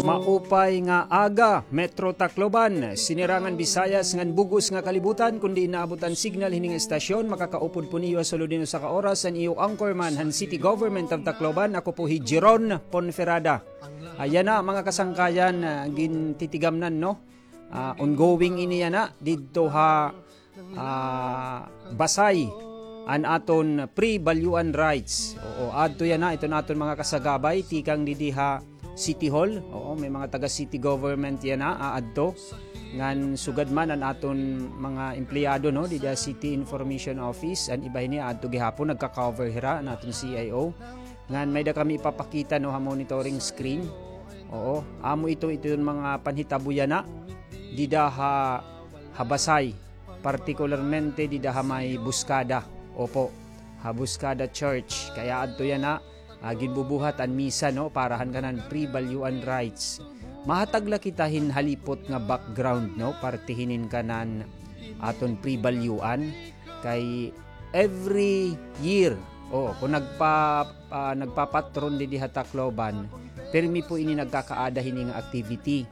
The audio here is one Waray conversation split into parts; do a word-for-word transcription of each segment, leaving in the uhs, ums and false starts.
Maupay nga aga, Metro Tacloban, Sinirangan Visayas ngan bug-os nga kalibutan. Kon diin naabot an signal hini nga estasyon, makakaupod po niyo ha sulod hin usa ka oras an iyo anchorman han City Government of Tacloban. Ako po hi Jeron Ponferrada. Yana, mga kasangkayan, ah, gintitigamnan, no? Ah, ongoing ini yana didto ha, ah, Basay, an aton pre-balyuan rights. Oo, adto yana iton aton mga kasagabay tikang didi ha City Hall. Oo, may mga taga city government yana aadto. Ngan sugad man an aton mga empleyado, no, didi ha City Information Office, an iba hini aadto gihapon, nagka-cover hira an aton C I O. Ngan may-ada kami ipapakita, no, ha monitoring screen. Oo, amo ito, ito iton mga panhitabo yana dida ha, ha Basay, partikularmente dida ha may Buscada. Opo, ha Buscada Church. Kay aadto yana, ah, ginbubuhat an misa, no, para han kanan pre-balyuan rights. Mahatag la kita hin halipot nga background, no, parte hinin kanan aton pre-balyuan. Kay every year, o, kon nagpa-, ah, nagpapatron didi ha Tacloban, pirmi po ini nagkakaada hini nga activity.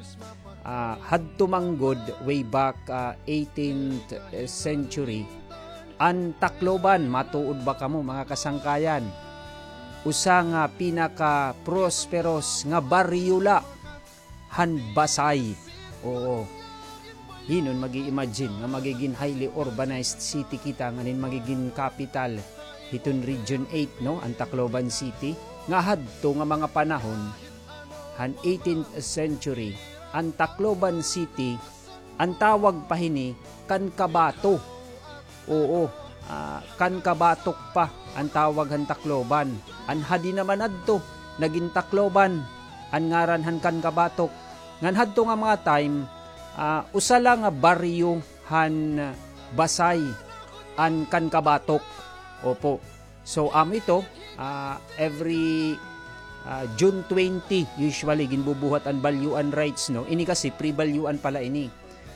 Ah, hadto man gud, way back, ah, eighteenth century, an Tacloban, matuod ba kamo, mga kasangkayan? Usa nga pinaka-prosperous nga baryo la han Basay. Oo. Hin-o an mag-i-imagine nga magigin highly urbanized city kita, ngan hin magigin capital hiton Region eight, no, an Tacloban City, nga hadto nga mga panahon han eighteenth century, an Tacloban City, an tawag pa hini Cancabato. Oo, ah, Cancabatok pa an tawag han Tacloban. An hadi naman adto, nagin Tacloban an ngaran han Cancabatok. Ngan hadto nga mga time, ah, usa la nga baryo han Basay an Cancabatok. Opo. So, amo ito, ah, every, ah, June twenty, usually, ginbubuhat an balyuan rights, no? Ini kasi, pre-balyuan pala ini.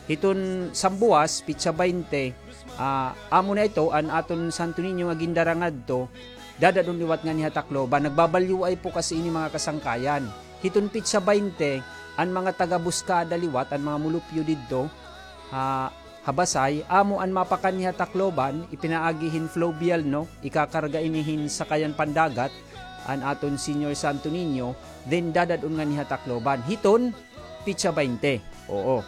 Hiton sambuwas, pitsa baynte, ah, amo na ito, an aton Santo Niño nga gindara ngadto, dadad-on liwat nganhi ha Tacloban. Nagbabalyuay po kasi ini, mga kasangkayan. Hiton pitsa baynte, an mga taga Buscada liwat, an mga mulupyo didto, ha, ha Basay, amo an mapakanhi ha Tacloban, ipinaagi hin fluvial, no? Ikakarga ini hin sakayan pandagat, an aton Señor Santo Niño, then dadad-on nganhi ha Tacloban. Hiton, pitsa baynte. Oo.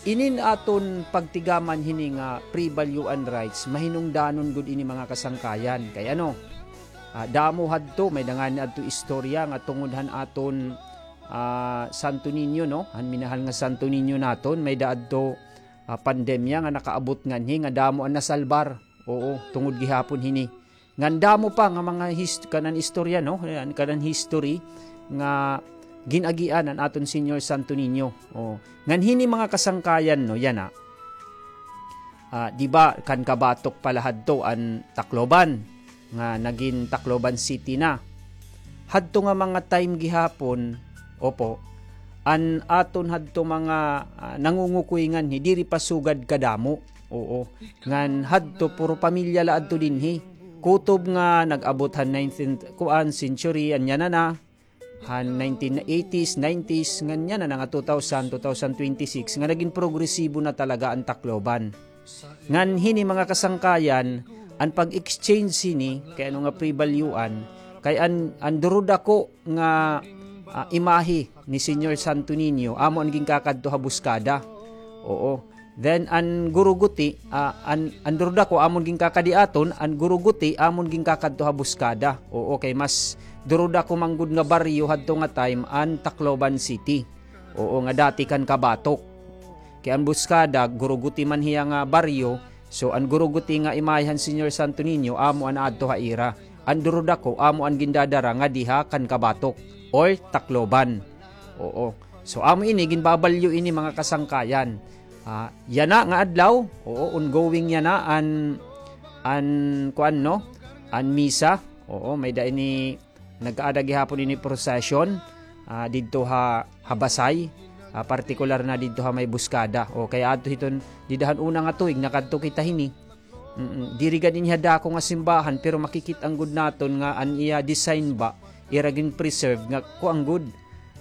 Inin aton pagtigaman hini nga pre-balyuan rights, mahinungdanon gud ini, mga kasangkayan. Kay ano, ah, damo hadto, may-ada ngani adto istorya nga tungod han aton, ah, Santo Niño, no? Han minahal nga Santo Niño naton, may-ada adto, ah, pandemya nga nakaabot nganhi nga damo an nasalbar. Oo, tungod gihapon hini. Ngan damo pa nga mga his-, kanan istorya, no? Ayan, kanan history nga gin-agian an aton Señor Santo Niño. O, ngan hini mga kasangkayan, no, yana. Ah, di ba, Cancabatok pala hadto an Tacloban, nga nagin Tacloban City na. Hadto nga mga time gihapon, opo, an aton hadto mga, ah, nangungukoy nganhi, diri pa sugad kadamo. Oo. Ngan hadto, puro pamilya la adto dinhi. Kutob nga nag-abot han nineteenth, kuan, century, an yana na, han nineteen eighties, nineties, ngan yana na nga two thousand, two thousand twenty-six, nga nagin progresibo na talaga an Tacloban. Ngan hini mga kasangkayan, an pag-exchange hini, kay ano nga pre-balyuan, kay an, an durudako nga, ah, imahe ni Señor Santo Niño, amo an ginkakadto ha Buscada. Oo. Then, an guruguti, ah, an, an durudako, amo an ginkakadiaton, an guruguti, amo an ginkakadto ha Buscada. Oo, kay mas durudako man gud nga baryo hadto nga time, an Tacloban City. Oo, nga dati Cancabatok. Kay an Buscada, guruguti man hiya nga baryo, so an guruguti nga imahe han Señor Santo Niño, amo an aadto ha ira. An durudako, amo an gindadara ngadi ha Cancabatok or Tacloban. Oo. So, amo ini, ginbabalyo ini, mga kasangkayan. Ah, yana nga adlaw, oo, ongoing yana an, an, kuan, no? An misa. Oo, may-ada ini nagkaada gihapon ini procession, ah, didto ha, ha Basay, ah, partikular na didto ha may Buscada. O, kay adto hiton, dida han una nga tuig, nakadto kita hini. Mm, diri gad ini ha dako nga simbahan, pero makikit-an gud naton nga an iya design ba, ira gin-preserve nga kuan gud,